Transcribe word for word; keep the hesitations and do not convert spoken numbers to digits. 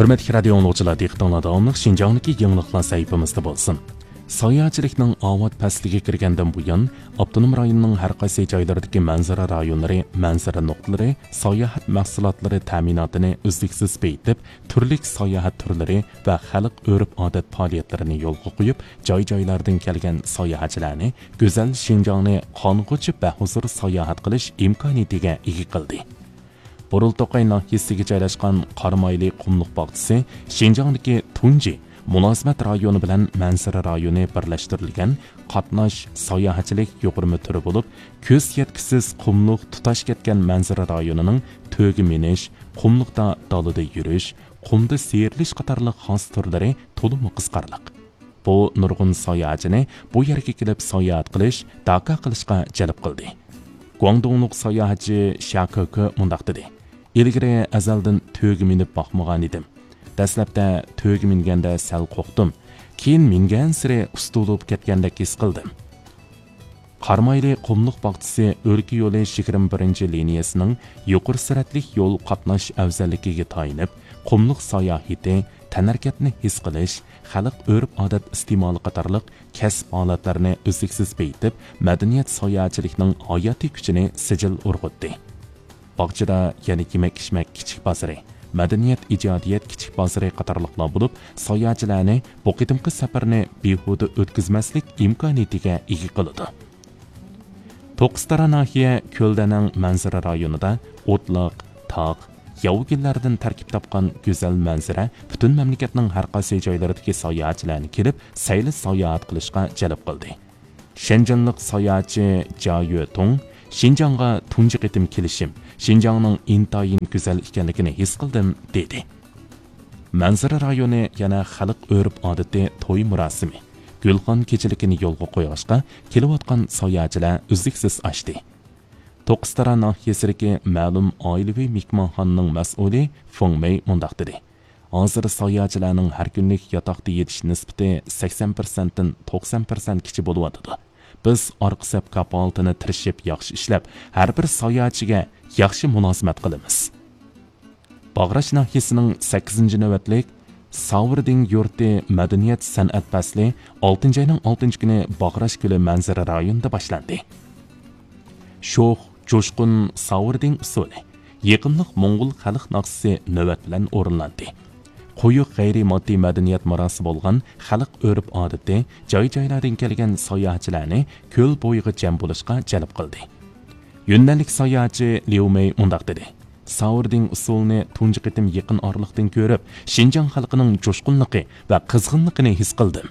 ھۆرمەتلىك رادىيو ئاڭلىغۇچىلار، دىققىتىڭلار داۋاملىق شىنجاڭدىكى يېڭىلىقلار سەھىپىمىزدە بولسۇن. ساياھەتچىلىكنىڭ ئاۋات پەسلىگە كىرگەندىن بۇيان، ئاپتونوم رايوننىڭ ھەر قايسى جايلىرىدىكى مەنزىرە رايونلىرى، مەنزىرە نۇقتىلىرى ساياھەت مەھسۇلاتلىرى تەمىناتىنى ئۈزلۈكسىز بېيىتىپ، تۈرلۈك ساياھەت تۈرلىرى ۋە خەلق ئۆرپ-ئادەت پائالىيەتلىرىنى يولغا قويۇپ، جاي-جايلاردىن كەلگەن ساياھەتچىلەرنى گۈزەل شىنجاڭنى قانغۇچە بەھۇزۇر ساياھەت قىلىش ئىمكانىيىتىگە ئىگە قىلدى. بۇرۇلتوقاي ناھىيەسىگە جايلاشقان قارامايلى قۇملۇق باغچىسى شىنجاڭدىكى تۇنجى مۇلازىمەت رايونى بىلەن مەنزىرە رايونى بىرلەشتۈرۈلگەن قاتناش ساياھەتچىلىك يۇغۇرما تۈرى بولۇپ، كۆز يەتكۈسىز قۇملۇق تۇتاش كەتكەن مەنزىرە رايونىنىڭ تۆگە مىنىش، قۇملۇقتا دالىدا يۈرۈش، قۇمدا سىيرىلىش قاتارلىق خاس تۈرلىرى تولىمۇ قىزىقارلىق. بۇ نۇرغۇن ساياھەتچىنى بۇ يەرگە كېلىپ ساياھەت قىلىش، داكا قىلىشقا جەلپ قىلدى. گۇاڭدۇڭلۇق ساياھەتچى شيا كېكې مۇنداق دېدى: «ئىلگىرى ئەزەلدىن تۆگە مىنىپ باقمىغان ئىدىم. دەسلەپتە تۆگە مىنگەندە سەل قورقتۇم. كېيىن مىنگەنسېرى ئۇستا بولۇپ كەتكەندەك ھېس قىلدىم.» قارامايلى قۇملۇق باغچىسى ئۆلكە يولى يىگىرمە بىرىنچى لىنىيەسىنىڭ يۇقىرى سۈرئەتلىك يول قاتناش ئەۋزەللىكىگە تايىنىپ، قۇملۇق ساياھىتى، تەنھەرىكەتنى ھېس قىلىش، خەلق ئۆرپ-ئادەت ئىستېمالى قاتارلىق كەسىپ ھالەتلىرىنى ئۈزلۈكسىز بېيىتىپ، مەدەنىيەت ساياھەتچىلىكنىڭ ھاياتىي كۈچىنى سىجىل ئۇرغۇتتى. باغچىدا يەنە يېمەك-ئىچمەك كىچىك بازىرى، مەدەنىيەت ئىجادىيەت كىچىك بازىرى قاتارلىقلار بولۇپ، ساياھەتچىلەرنى بۇ قېتىمقى سەپەرنى بىھۇدە ئۆتكۈزمەسلىك ئىمكانىيىتىگە ئىگە قىلىدۇ. توققۇزتارا ناھىيە كۆلدەنەڭ مەنزىرە رايونىدا ئوتلاق، تاغ، ياۋا گۈللەردىن تەركىب تاپقان گۈزەل مەنزىرە پۈتۈن مەملىكەتنىڭ ھەر قايسى جايلىرىدىكى ساياھەتچىلەرنى كېلىپ سەيلە ساياھەت قىلىشقا جەلپ قىلدى. شەنجېنلىق ساياھەتچى جيا يۆتۇڭ شىنجاڭغا تۇنجى قېتىم كېلىشىم، شىنجاڭنىڭ ئىنتايىن گۈزەل ئىكەنلىكىنى ھېس قىلدىم، دېدى. مەنزىرە رايونى يەنە خەلق ئۆرپ-ئادىتى توي مۇراسىمى، گۈلخان كېچىلىكىنى يولغا قويغاچقا، كېلىۋاتقان ساياھەتچىلەر ئۈزلۈكسىز ئاشتى. توققۇزتارا ناھىيەسىدىكى مەلۇم ئائىلىۋى مېھمانخانىنىڭ مەسئۇلى فېڭ مېي مۇنداق دېدى: «ھازىر ساياھەتچىلەرنىڭ ھەر كۈنلۈك ياتاقتا يېتىش نىسبىتى سەكسەن پىرسەنتتىن توقسان پىرسەنتكىچە بولۇۋاتىدۇ. بىز ئارقا سەپ كاپالىتىنى تىرىشىپ ياخشى ئىشلەپ، ھەر بىر ساياھەتچىگە ياخشى مۇلازىمەت قىلىمىز.» باغراش ناھىيەسىنىڭ سەككىزىنچى نۆۋەتلىك ساۋۇردىڭ يۇرتى مەدەنىيەت سەنئەت پەسلى ئالتىنچى ئاينىڭ ئالتىنچى كۈنى باغراش كۆلى مەنزىرە رايونىدا باشلاندى. شوخ، جۇشقۇن ساۋۇردىڭ ئۇسسۇلى، يېقىملىق موڭغۇل خەلق ناخشىسى نۆۋەت بىلەن ئورۇنلاندى. قويۇق غەيرىي ماددىي مەدەنىيەت مىراسى بولغان خەلق ئۆرپ-ئادىتى، جاي-جايلاردىن كەلگەن ساياھەتچىلەرنى كۆل بويىغا جەم بولۇشقا جەلپ قىلدى. يۈننەنلىك ساياھەتچى ليۇ مېي مۇنداق دېدى: «ساۋۇردىڭ ئۇسسۇلىنى تۇنجى قېتىم يېقىن ئارىلىقتىن كۆرۈپ، شىنجاڭ خەلقىنىڭ جۇشقۇنلۇقى ۋە قىزغىنلىقىنى ھېس قىلدىم.»